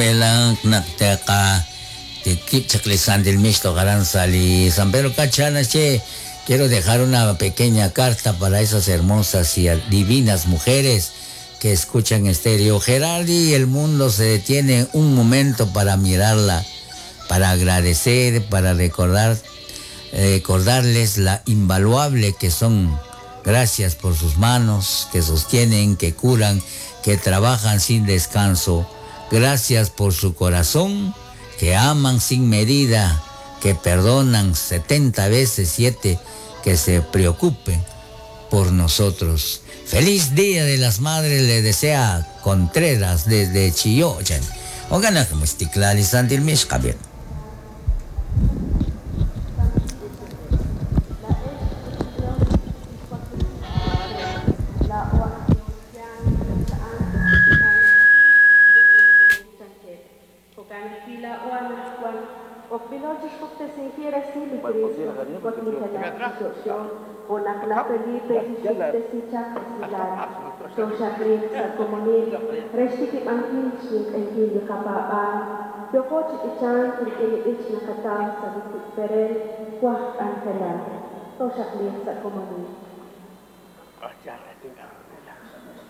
Rub'elaj naq taqatikib' chaq li Santil Mix toj aran sa' li San Pedro Cacha naxye, Quiero dejar una pequeña carta para esas hermosas y divinas mujeres que escuchan estéreo Gerardi y el mundo se detiene un momento para mirarla, para agradecer, para recordar, recordarles la invaluable que son. Gracias por sus manos que sostienen, que curan, que trabajan sin descanso. Gracias por su corazón, que aman sin medida, que perdonan 70 veces 7, que se preocupen por nosotros. Feliz Día de las Madres le desea Contreras desde Chillón. Oigan, como santil bien.